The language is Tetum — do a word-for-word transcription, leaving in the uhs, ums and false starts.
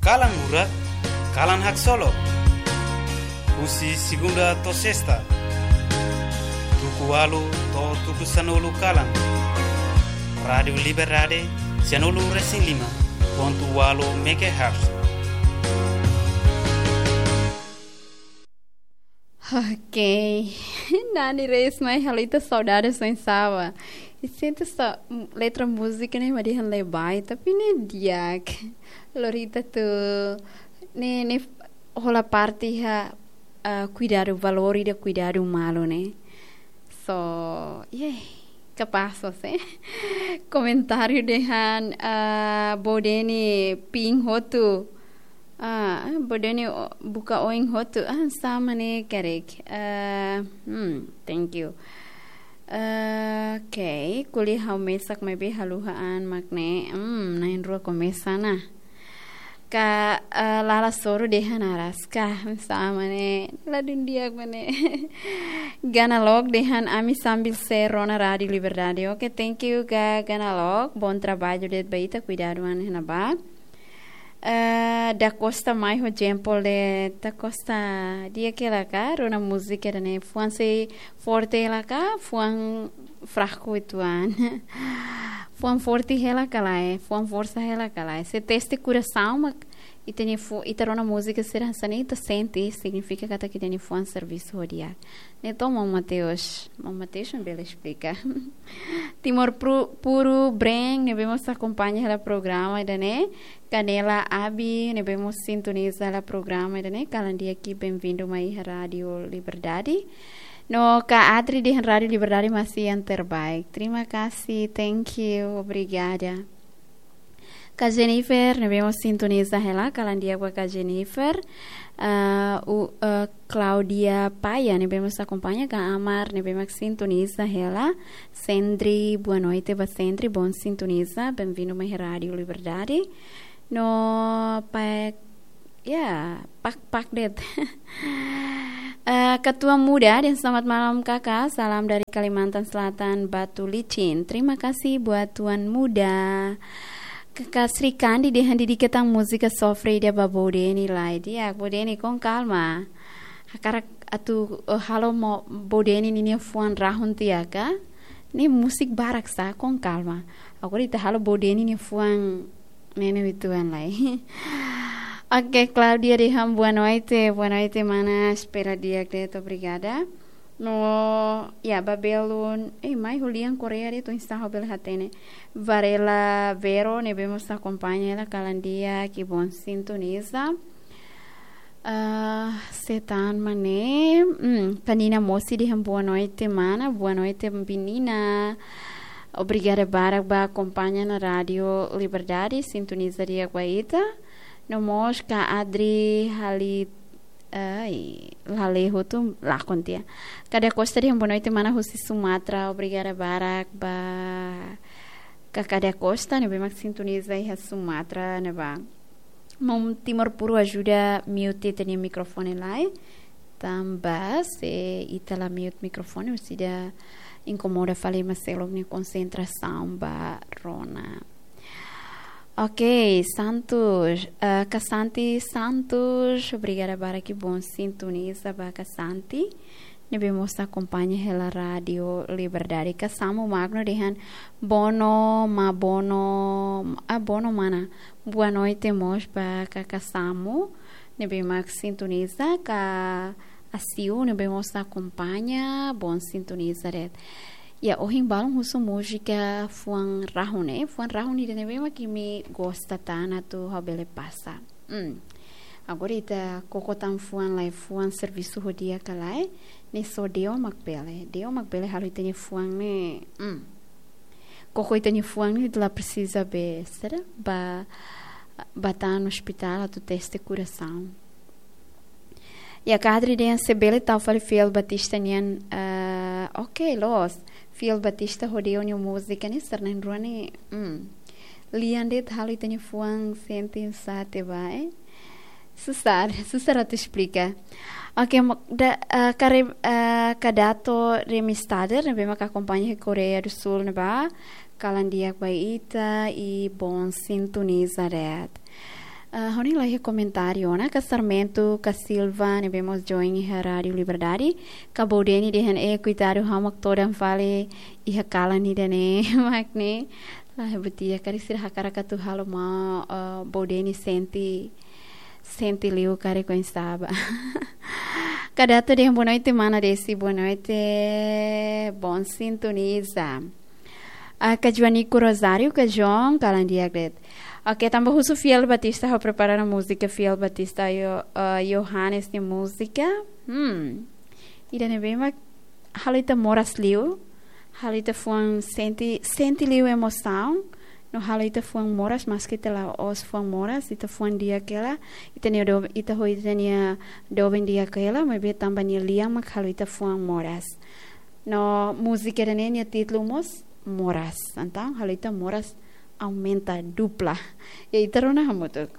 Kalan Murak, Kalan Haksolok. Husi segunda to'o sesta, tuku ualu to'o tuku sanulu kalan. Rádiu Liberdade, sanulu resin lima pontu ualu megahertz. Ok. Nani Reis mai halo ita saudade soin saba. I sente sa letra múzika ne'e mak dehan lee barak, tapi ne'e di'ak. Lori ita atu ne'e, ne'e hola parte iha, ah, kuidadu, valór ida kuidadu malu ne'e. So, yeah, kapás se. Komentáriu dehan, ah, Bodeni ping hotu. Ah, Bodeni o-, buka oin hotu. Ah, sama ne'e karik. Ah, hmm, thank you. Ah, ok, ko'alia ha'u mesak maibé haluha an mak ne'e. Hmm, na'in-rua komesa ona. Ka, eh, Lala Soro dehan araska, sama ne'e, ladún di'ak mak ne'e. Gana Lok dehan ami sambil share ona Rádiu Liberdade. Ok, thank you, Ga-, Gana Lok. Bom trabalho de'it ba ita, kuidadu an iha ne'ebá. Eh, Da Costa mai ho jempol de'it, Da Costa di'ak hela ka, rona múzika ida-ne'e, fuan sei forte hela ka, fuan fraku uitoan. Fuan forte hela ka lae, fuan forsa hela ka lae. Se teste korasaun mak ita-nia fu-, ita rona múzika sira hanesan ne'e ita sente, signifika katak ita-nia fuan servisu ho di'ak. Ne'e to'o maun Mateus. Maun Mateus mak bele esplika. Timor Pru-, Puru Breng, ne'ebé mós akompaña hela programa ida-ne'e. Kanela Abi, ne'ebé mós sintoniza hela programa ida-ne'e. Kalan di'ak, benvindu mai iha Rádiu Liberdade. No Ka Adri dehan Rádiu Liberdade masih yang terbaik. Terima kasih, thank you, obrigada. Ka Jennifer, ne'ebé mós sintoniza hela, kalan di'ak ba Ka Jennifer. Ah, u-, eh, Claudia Paia, ne'ebé mós akompaña, Ka Amar, ne'ebé mós sintoniza hela. Sendri, boa noite ba Sendri, bom sintoniza, benvindu mai Rádiu Liberdade. No, pa Ya, pak-pak de'it. Eh, Katuan Muda dehan selamat malam kakak, salam dari Kalimantan Selatan, Batu Licin. Terima kasih buat Tuan Muda. Kakak Sri Kandi dehan dedika tan múzika sofre ida ba Bodeni lai. Di'ak, Bodeni, com calma. Hakarak atu, eh, halo maun Bodeni ninia fuan rahun tiha ka? Ne'e múzika barak sá, com calma. Agora ita halo Bodeni nia fuan ne'e ne'e uitoan lai. Ok, Claudia dehan boa noite, boa noite mana, espera di'ak de'it, obrigada. No, ya, ba belun, eh, mai Julian Correa de'it, oinsá ha'u bele hatene. Varela Vero, ne'ebé mós akompaña hela, kalan di'ak, bom sintoniza. Ah, sé tan mak ne'e, hmm, Panina Mosi dehan boa noite mana, boa noite menina. Obrigada barak ba akompaña ona Rádiu Liberdade, sintoniza di'ak ba ita. No mós Ka Adri Hali, ai, Laleho tu lakon tiha. Ka Da Costa dehan boa noite mana husi Sumatra, obrigada barak ba Ka Da Costa, ne'ebé mak sintoniza iha Sumatra ne'ebá. Maun Timor Puru ajuda mute ita-nia mikrofone lai. Tanba se ita la mute mikrofone, orsida inkomoda fali ema seluk nia konsentrasaun ba rona. Ok, Santos, eh, Kasanti Santos, obrigada barak, bom sintoniza ba Kasanti. Ne'ebé mós akompaña hela Rádiu Liberdade. Ka Samu Magno dehan bono, ma bono, ah, bono mana. Boa noite mós ba Ka Samu. Ne'ebé mak sintoniza, Ka Asiu, ne'ebé mós akompaña, bom sintoniza de'it. Ya, ohin balun husu múzika fuan rahun, eh, fuan rahun ida ne'ebé mak imi gosta tan atu ha'u bele pasa. Hmm. Agora ita koko tan fuan lai, fuan servisu ho di'ak ka lae, ne'e só Deus mak bele. Deus mak bele halo ita-nia fuan ne'e. Hmm. Koko ita-nia fuan ne'e la presiza be, será? Ba, ba tan ospitál atu teste korasaun. Ya, Ka Adri dehan se bele tau fali Fiel Batista nian, eh, ok, loos. Fiel Batista ho Deus nia múzika ne'e sira na'in-rua ne'e, hmm. Lian de'it halo ita-nia fuan sente sate ba, eh. Susar, susar atu esplika. Ok, mo-, da, eh, kare, eh, Kadato Remistader, ne'ebé mak akompaña iha Koreia do Sul ne'ebá. Kalan di'ak ba ita, i bom sintoniza de'it. Ah, ha'u-nia la iha komentáriu ona, ka Sarmento, ka Silva, ne'ebé mós join iha Rádio Liberdade, ka Bodeni dehan, eh, koitadu, ha'u mak todan fali iha kalan ida-ne'e, mak ne'e. Lae, buat ida karik sira hakarak atu halo maun, eh, Bodeni sente, sente liu karik oinsá ba. Ka Dato dehan boa noite, mana Desi, boa noite, bom sintoniza. Ah, ka Joanico Rosário, ka João, kalan di'ak de'it. Oke, tanba husu Fiel Batista, ha'u prepara ona múzika Fiel Batista, Yo-, ah, Yohanes nia múzika. Hmm. Ida ne'ebé mak halo ita moras liu, halo ita fuan sente, sente liu emosaun, no halo ita fuan moras, maski ita la'ós fuan moras, ita fuan di'ak hela, ita-nia do-, ita ho ita-nia doben di'ak hela, maibé tanba nia lian mak halo ita fuan moras. No múzika ida-ne'e nia títulu mós Moras. Entaun, halo ita moras aumenta, dupla. I ita rona hamutuk.